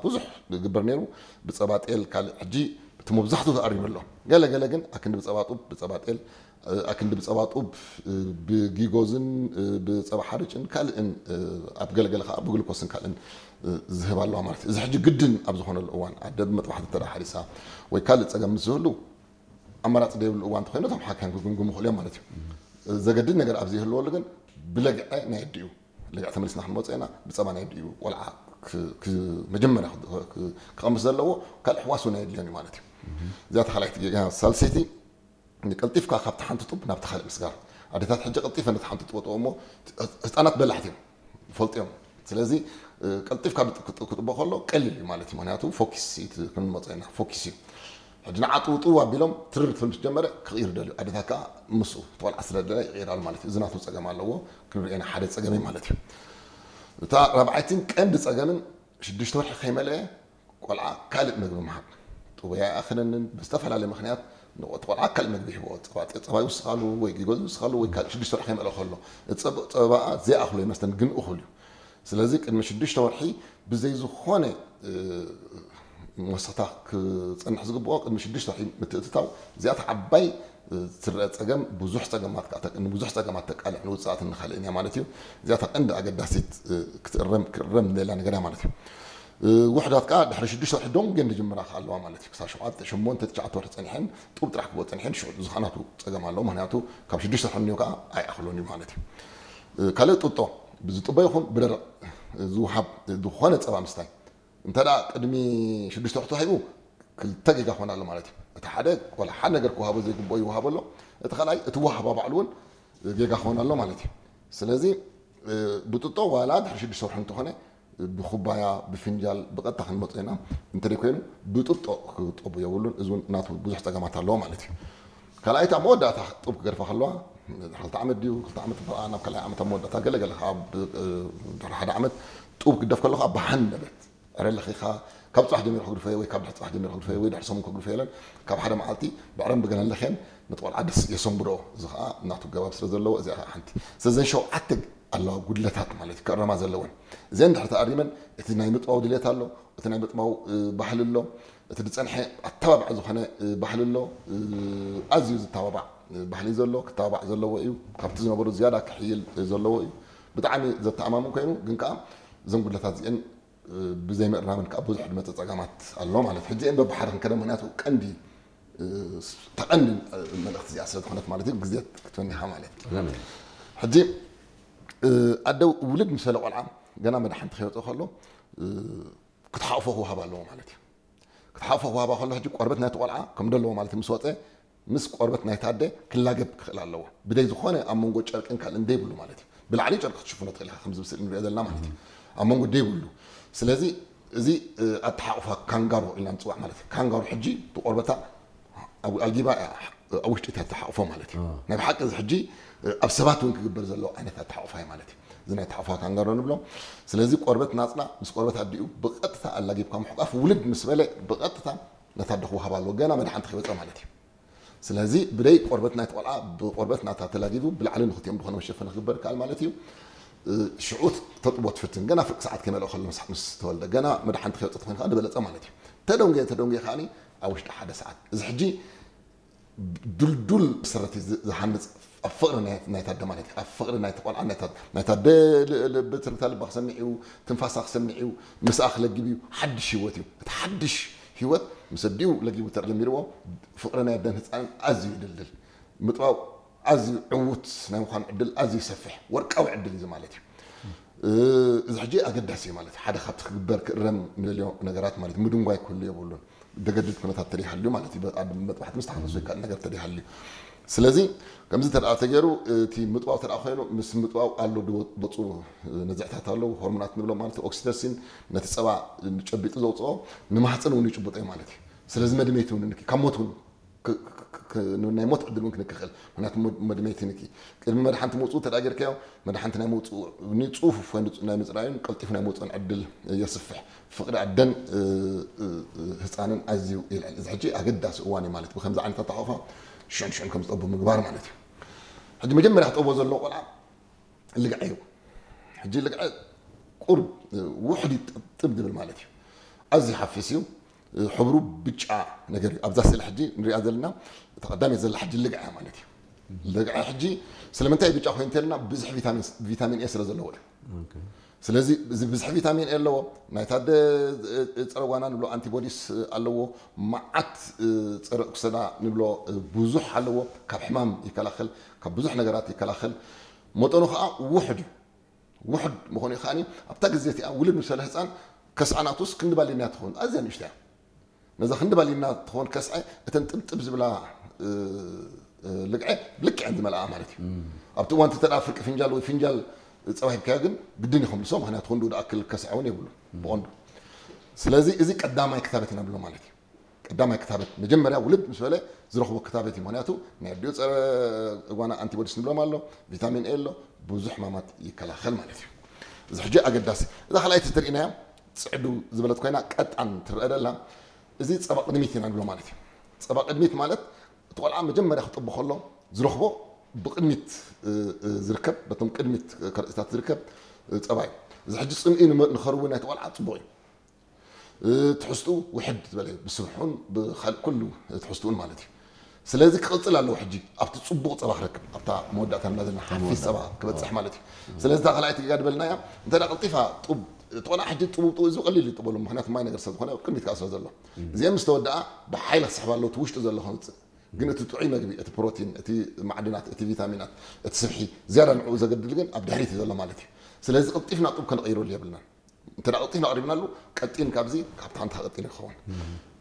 ብዙሕ ዝግበር ነይሩ። ብፀባ ጤል ካልእ፣ ሕጂ እቲ መብዛሕትኡ ተኣሪሙ ኣሎ። ገለ ገለ ግን ኣክንዲ ብፀባ ጡብ፣ ብፀባ ጤል፣ ኣክንዲ ብፀባ ጡብ፣ ብጊጎዝን ብፀባ ሓርጭን ካልእን፣ ኣብ ገለገለ ከዓ ብግልኮስን ካልእን ዝህብ ኣለዋ ማለት እዩ። እዚ ሕጂ ግድን ኣብ ዝኾነሉ እዋን ኣደ ብመጥባሕቲ እንተ ሓሪሳ ወይ ካልእ ፀገም ምስ ዝህሉ ኣማራፂ ዘይብሉ እዋን እንተኮይኑ እቶም ሓካይም ክግምግሙ ይኽእሉ እዮም ማለት እዩ። ዘገድድ ነገር ኣብ ዘይህልወሉ ግን ብለግዐ ናይ ኣዲኡ፣ ለግዐ ተመሊስና ክንመፅኦ ኢና። ብፀባ ናይ ኣዲኡ ቆልዓ መጀመርያ ክቐምስ ዘለዎ፣ ካልእ ሕዋስ እውን ኣየድልዮን እዩ ማለት እዩ። እዚኣ ተኻላይት ጌጋ። ሳልሰይቲ፣ ቀልጢፍካ ካብቲ ሓንቲ ጡብ ናብቲ ካልእ ምስጋር። ኣዴታት ሕጂ ቀልጢፈ ነቲ ሓንቲ ጡብ እሞ ህፃናት በላሕቲ እዮም፣ ይፈልጡ እዮም። ስለዚ ቀልጢፍካ ክጥቦ ከሎ ቀሊል እዩ ማለት እዩ። ምክንያቱ ፎኪስ ክንመፀ ኢና፣ ፎኪስ እዩ። ሕጂ ንዓ ጥውጥው ኣቢሎም ትርር ክብል ምስ ጀመረ ክቕይር ደልዩ። ኣዴታት ከዓ ምስኡ ተቆልዓ ስለ ደለ ይቕይራሉ ማለት እዩ። እዚ ናቱ ፀገም ኣለዎ፣ ክንሪኦ ኢና ሓደ ፀገም እዩ ማለት እዩ። እታ ራብዓይትን ቀንዲ ፀገምን ሽዱሽተ ወርሒ ከይመለአ ቆልዓ ካልእ መግቢ ምሃብ። ጥቡይ ኣይኣኽለንን ብዝተፈላለየ ምክንያት እቲ ቆልዓ ካልእ መግቢ ይህብኦ። ፀባ ይውስኻሉ ወይ ጊጎዝ ይውስኻሉ ወይ ካልእ ሽዱሽተ ወርሒ ከይመለአ ከሎ ፀባኣ ዘይኣኽሎ ይመስለን ግን እኹል እዩ። ስለዚ ቅድሚ ሽዱሽተ ወርሒ ብዘይ ዝኾነ መወሰኽታ ክፀንሕ ዝግብኦ ቅድሚ ሽዱሽተ ወርሒ ምትእትታው። እዚኣታ ዓባይ ትረአ ፀገም ብዙሕ ፀገማት ንብዙሕ ፀገማት ተቃልዕ ንውፅኣትን ንካልእን እያ ማለት እዩ። እዚኣታ ቀንዲ ኣገዳሲት ክትእረም ክእረም ዘላ ነገር እያ ማለት እዩ። ውሕዳት ከዓ ድሕሪ ሽዱሽተ ወርሒ ዶንጌን ዝጅምራ ከዓ ኣለዋ ማለት እዩ። ክሳብ ሸውዓተ ሸሞንተ ትሽዓተ ወርሒ ፀኒሐን ጡብ ጥራሕ ክቦ ፀኒሐን ሽዑ ዝኸናቱ ፀገም ኣለዎ። ምክንያቱ ካብ ሽዱሽተ ወርሒ እኒኦ ከዓ ኣይኣኽሎን እዩ ማለት እዩ። ካልእ ጡጦ ብዝጥቦ ይኹን ብደረቕ ዝውሃብ ዝኾነ ፀባ ምስታይ እንተ ደኣ ቅድሚ ሽዱሽተ ወርሒ ተዋሂቡ ክልተ ጌጋ ክኾን ኣሎ ማለት እዩ። እቲ ሓደ ዋላ ሓደ ነገር ክወሃቦ ዘይግብኦ ይወሃቦ ኣሎ። እቲ ካልኣይ እቲ ወሃባ ባዕሉ እውን ጌጋ ክኾን ኣሎ ማለት እዩ። ስለዚ ብጥጦ ዋላ ድሕሪ ሽዱሽተ ወርሒ እንተኾነ ብኩባያ ብፍንጃል ብቐጥታ ክንመጾ ኢና። እንተደይ ኮይኑ ብጥጦ ክጠቡ የብሉን። እዚ እውን ናቱ ብዙሕ ጸገማት ኣለዎ ማለት እዩ። ካልኣይቲ ኣብ መወዳእታ ጡብ ክገድፋ ከለዋ ክልተ ዓመት ድዩ ክልተ ዓመት በኣ ናብ ካልኣይ ዓመት ኣብ መወዳእታ ገለገለ ካብ ድሕሪ ሓደ ዓመት ጡብ ክደፍ ከለኻ ብሃንደበት ዕረ ለኺኻ ካብ ጽባሕ ጀሚሩ ክግድፈዮ ወይ ካብ ድሕሪ ጽባሕ ጀሚሩ ክግድፈዮ ወይ ድሕሪ ሰሙን ክግድፈዮ የለን። ካብ ሓደ መዓልቲ ብዕረን ብገለን ለኽየን ነቲ ቆልዓ ደስ የሰንብድኦ። እዚ ኸዓ ናቱ ገባብ ስለ ዘለዎ እዚኣ ኸዓ ሓንቲ። ስለዘን ሸውዓተ ኣለዋ ጉድለታት ማለት እዩ ክእረማ ዘለወን። እዚአን ድሕሪ ተኣሪመን እቲ ናይ ምጥባው ድሌት ኣሎ፣ እቲ ናይ ምጥባው ባህሊ ኣሎ፣ እቲ ዝፀንሐ ኣተባባዕ ዝኾነ ባህሊ ኣሎ። ኣዝዩ ዝተባባዕ ባህሊ ዘሎ ክተባባዕ ዘለዎ እዩ። ካብቲ ዝነበሩ ዝያዳ ክሕይል ዘለዎ እዩ። ብጣዕሚ ዘተኣማምን ኮይኑ ግን ከዓ እዘን ጉድለታት እዚአን ብዘይምእራምን ከዓ ብዙሕ ዝመፀ ፀገማት ኣሎ ማለት እዩ። ሕጂ እየን በብሓደ ክንከደ ምክንያቱ ቀንዲ ተቐንዲ መልእኽቲ እዚኣ ስለ ዝኾነት ማለት እዩ ግዜ ክትበኒኻ ማለት እዩ። ሕጂ ኣደ ውልድ ምስ በለ ቆልዓ ገና መድሓንቲ ከይወፀ ከሎ ክትሓቕፎ ክወሃብ ኣለዎ ማለት እዩ። ክትሓቕፎ ክወሃባ ከሎ ሕጂ ቆርበት ናይቲ ቆልዓ ከም ደለዎ ማለት እዩ ምስ ወፀ ምስ ቆርበት ናይቲ ኣደ ክላገብ ክኽእል ኣለዎ። ብደይ ዝኾነ ኣብ መንጎ ጨርቅን ካልእን ደይብሉ ማለት እዩ። ብላዕሊ ጨርቂ ክትሽፍኖ ትኽእል ኢኻ ከምዚ ብስእሊ ንሪኦ ዘለና ማለት እዩ። ኣብ መንጎ ደይብሉ። ስለዚ እዚ ኣተሓቑፋ ካንጋሮ ኢልና ንፅዋዕ ማለት እዩ። ካንጋሮ ሕጂ ብቆርበታ ኣልጊባ ኣብ ውሽጢ እታ ተሓቑፎ ማለት እዩ። ናይ ብሓቂ እዚ ሕጂ ኣብ ሰባት እውን ክግበር ዘለዎ ዓይነት ኣተሓቑፋ እዩ ማለት እዩ። እዚ ናይ ተሓቑፋ ካንጋሮ ንብሎ። ስለዚ ቆርበት ናፅና ምስ ቆርበት ኣዲኡ ብቐጥታ ኣላጊብካ ምሕቋፍ ውልድ ምስ በለ ብቐጥታ ነታ ኣደ ክወሃብ ኣለዎ ገና መድሓንቲ ከይወፀ ማለት እዩ። ስለዚ ብደይ ቆርበት ናይቲ ቆልዓ ብቆርበት ናታ ተላጊቡ ብላዕሊ ንክልቲኦም ዝኾነ መሸፈኒ ክግበር ይከኣል ማለት እዩ። ሽዑ ተጥቦ ትፍትን ገና ፍርቂ ሰዓት ከይመልኦ ከሎ ምስ ምስ ተወልደ ገና መድሓንቲ ከይወፀ ተኮይኑ ከዓ ዝበለፀ ማለት እዩ። ተደንጎየ ተደንጎየ ከዓ ኣብ ውሽጢ ሓደ ሰዓት እዚ ሕጂ ድልዱል መሰረት ዝሃንፅ ኣብ ፍቕሪ ናይታ ኣደ ማለት እዩ። ኣብ ፍቕሪ ናይቲ ቆልዓ ናይታ ኣደ ልቢ ትርታ ልባ ክሰምዕ እዩ፣ ትንፋሳ ክሰምዕ እዩ፣ ምስኣ ክለግብ እዩ፣ ሓድሽ ህይወት እዩ። እቲ ሓድሽ ህይወት ምስ ኣዲኡ ለጊቡ ተጀሚርዎ ፍቕሪ ናይ ኣደን ህፃንን ኣዝዩ ይድልድል። ምጥባው ኣዝዩ ዕዉት ናይ ምዃን ዕድል ኣዝዩ ይሰፍሕ። ወርቃዊ ዕድል እዩ ማለት እዩ። እዚ ሕጂ ኣገዳሲ እዩ ማለት እዩ። ሓደ ካብቲ ክግበር ክእረም ንደልዮ ነገራት ማለት እዩ። ምድንጓይ ክህሉ የብሉን። ደገድድ ኩነታት ተደይሃልዩ ማለት እዩ። ኣብ መጥባሕቲ ምስ ተሓፈሱ ይከኣል ነገር ተደይሃልዩ። ስለዚ ከምዚ ተደኣ ተገይሩ እቲ ምጥባው ተደኣ ኮይኑ ምስ ምጥባው ኣሎ ዝወፁ ነዝዕታት ኣለዉ። ሆርሞናት ንብሎም ማለት ኦክሲቶሲን ነቲ ፀባ ጨቢጡ ዘውፅኦ ንማህፀን እውን ይጭብጦ እዩ ማለት እዩ። ስለዚ መድመይቲ እውን ካብ ሞት እውን ናይ ሞት ዕድል እውን ክንክኽእል ምክንያቱ መድመይቲ ንኪ ቅድሚ መድሓንቲ ምውፅኡ ተዳ ጌርካዮ መድሓንቲ ናይ ምውፅኡ ንፁፉፍ ወይ ናይ ምፅራዩን ቀልጢፉ ናይ ምውፅኡን ዕድል የስፍሕ። ፍቕሪ ኣደን ህፃንን ኣዝዩ ይልዕል። እዚ ሕጂ ኣገዳሲ እዋን እዩ ማለት ብከምዚ ዓይነት ኣተሓቋፋ ሽዑን ሽዑን ከም ዝጠቡ ምግባር ማለት እዩ። ሕጂ መጀመርያ ክጠቦ ዘለዎ ቆልዓ ልግዐ እዩ። ሕጂ ልግዐ ቁርብ ውሕድ ጥብ ዝብል ማለት እዩ። ኣዝዩ ሓፊስ እዩ። ሕብሩ ብጫ ነገር እዩ። ኣብዛ ስእሊ ሕጂ ንሪኣ ዘለና፣ እታ ቀዳመይቲ ዘላ ሕጂ ልግዐ ማለት እዩ። ልግዐ ሕጂ ስለምንታይ ብጫ ኮይኑ እንተልና፣ ብዙሕ ቪታሚን፣ ቪታሚን ኤ ስለ ዘለዎ እዩ። ስለዚ እዚ ብዙሕ ቪታሚን ኤ ኣለዎ። ናይታ ደ-፣ ጸረ ጓና ንብሎ ኣንቲቦዲስ ኣለዎ። መዓት ጸረ ኦክሰዳ ንብሎ ብዙሕ ኣለዎ። ካብ ሕማም ይከላኸል፣ ካብ ብዙሕ ነገራት ይከላኸል። መጠኑ ከዓ ውሑድ እዩ። ውሑድ ምኾኑ ከኣ ኣብታ ግዜ እቲኣ ውልድ ምስ በለ ህፃን ከስዐ ናቱስ ክንዲ ባሊና ትኸውን፣ ኣዝያ ንእሽቶ እያ። ነዛ ክንዲ ባሊና ትኸውን ከስዐ፣ እተን ጥብጥብ ዝብላ፣ እ፣ እ፣ ልግዐ ብልክዐን ዝመልኣ ማለት እዩ። ኣብቲ እዋን እቲ ተደኣ ፍርቂ ፍንጃል ወይ ፍንጃል ጸባ ሂብካዮ ግን ግድን እዩ ከምልሶ፣ ምኽንያቱ ክንድኡ ዝኣክል ከስዐ እውን የብሉ ብቐንዱ። ስለዚ እዚ ቀዳማይ ክታበት ኢና ንብሎ ማለት እዩ። ቀዳማይ ክታበት መጀመርያ ውልድ ምስ በለ ዝረኽቦ ክታበት እዩ። ምኽንያቱ ናይ ኣዲኡ ጸረ ጓና ኣንቲቦዲስ ንብሎም ኣሎ፣ ቪታሚን ኤ ኣሎ፣ ብዙሕ ሕማማት ይከላኸል ማለት እዩ። እዚ ሕጂ ኣገዳሲ። እዛ ካልኣይቲ ትርእናያ ጽዕዱ ዝበለት ኮይና ቀጣን ትረአ ደላ፣ እዚ ጸባ ቅድሚት ኢና ንብሎ ማለት እዩ። ጸባ ቅድሚት ማለት እቲ ቆልዓ መጀመርያ ክጥቡ ከሎ ዝረኽቦ ብቅድሚት፣ እ፣ እ፣ ዝርከብ፣ በቶም ቅድሚት ከርእስታት ዝርከብ፣ እ፣ ጸባ እዩ። እዚ ሕጂ ጽምኢ ንመ-፣ ንኸርዊ ናይቲ ቆልዓ ጽቡቕ እዩ። እ፣ ትሕዝትኡ ውሕድ ዝበለ እዩ። ብስብሑን ብኻልእ ኩሉ ትሕዝትኡን ማለት እዩ። ስለዚ ክቕጽል ኣለዎ ሕጂ ኣብቲ ጽቡቕ ጸባ ክረክብ፣ ኣብታ መወዳእታ ንብላ ዘለና ሓፊስ ጸባ ክበጽሕ ማለት እዩ። ስለዚ እታ ካልኣይቲ ጌጋ ዝበልናያ፣ እንተ ደኣ ቀልጢፋ ጡብ፣ እቲ ቆልዓ ሕጂ ጥቡብ ጥቡብ እዚ ቀሊል እዩ ጥበሉ፣ ምኽንያቱ ማይ ነገር ስለ ዝኾነ ኣብ ቅድሚት ከኣ ስለ ዘሎ። እዚአን ምስ ተወድኣ ብሓይሊ ክስሕባ ኣለዎ፣ እቲ ውሽጡ ዘሎ ከምጽእ። ግን እቲ ጥዑይ መግቢ፣ እቲ ፕሮቲን፣ እቲ ማዕድናት፣ እቲ ቪታሚናት፣ እቲ ስብሒ ዝያዳ ንዕኡ ዘገድል ግን ኣብ ድሕሪት እዩ ዘሎ ማለት እዩ። ስለዚ ቀልጢፍና ጡብ ከነቐይረሉ የብልናን። እንተ ደኣ ቀልጢፍና ኣቕሪብናሉ፣ ቀጢን ካብዚ፣ ካብታ ሓንቲ ቀጢን ክኸውን።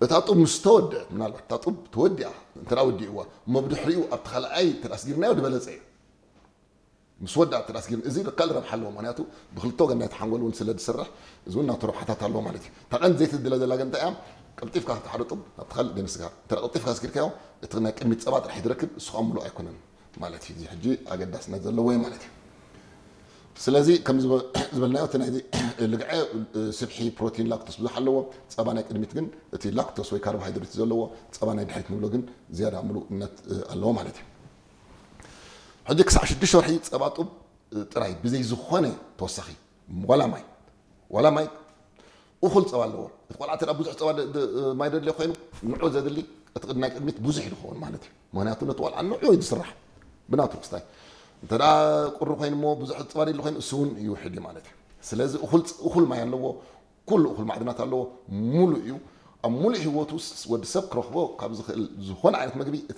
እታ ጡብ ምስ ተወድአት፣ ምናልባት እታ ጡብ ተወዲኣ፣ እንተ ደኣ ወዲእዋ፣ እሞ ብድሕሪኡ ኣብቲ ካልኣይ እንተ ደኣ ኣስጊርናዮ ዝበለጸ እዩ። ምስ ወድኣ እንተ ደኣ ኣስጊርና፣ እዚ ካልእ ረብሓ ኣለዎ። ምኽንያቱ ብክልተ ወገን ናይቲ ሓንጎል እውን ስለ ዝስራሕ፣ እዚ እውን ናቱ ረብሓታት ኣለዎ ማለት እዩ። እታ ቀንዲ ዘይትድለ ዘላ ግን እንታይ እያ? ቀልጢፍካ እቲ ሓደ ጡብ ናብቲ ካልእ ደንስካ። እንተ ደኣ ቀልጢፍካ ኣስጊርካዮ፣ እቲ ናይ ቅድሚት ጸባ ጥራሕ እዩ ዝረክብ፣ እሱ ከዓ ምሉእ ኣይኮነን ማለት እዩ። እዚ ሕጂ ኣገዳስነት ዘለዎ እዩ ማለት እዩ። ስለዚ ከም ዝበ-፣ ዝበልናዮ፣ እቲ ናይዚ ልግዐ፣ ስብሒ፣ ፕሮቲን፣ ላክቶስ ብዙሕ ኣለዎ። ጸባ ናይ ቅድሚት ግን እቲ ላክቶስ ወይ ካርቦሃይድሬት ዘለዎ፣ ጸባ ናይ ድሕሪት ንብሎ ግን ዝያዳ ምሉእነት ኣለዎ ማለት እዩ። ሕጂ ክሳዕ ሽዱሽተ ወርሒ ጸባ ጡብ ጥራይ ብዘይ ዝኾነ ተወሳኺ፣ ዋላ ማይ፣ ዋላ ማይ እኹል ጸባ ኣለዎ። እቲ ቆልዓ እንተ ደኣ ብዙሕ ጸባ ደ-፣ ደ-፣ ማይ ደድልዮ ኮይኑ፣ ንዑ ዘድሊ እቲ ቅድ-፣ ናይ ቅድሚት ብዙሕ እዩ ዝኸውን ማለት እዩ። ምኽንያቱ ነቲ ቆልዓ ንዑ እዩ ዝስራሕ ብናቱ ክስታይ። እንተ ደኣ ቁሪ ኮይኑ እሞ ብዙሕ ጸባ ደድሊ ኮይኑ፣ እሱ እውን ይውሕድ እዩ ማለት እዩ። ስለዚ እኹል ጸ-፣ እኹል ማይ ኣለዎ፣ ኩሉ እኹል ማዕድናት ኣለዎ፣ ሙሉእ እዩ። ኣብ ሙሉእ ህይወቱ ስ-፣ ወዲ ሰብ ክረኽቦ ካብ ዝኽእል ዝኾነ ዓይነት መግቢ እቲ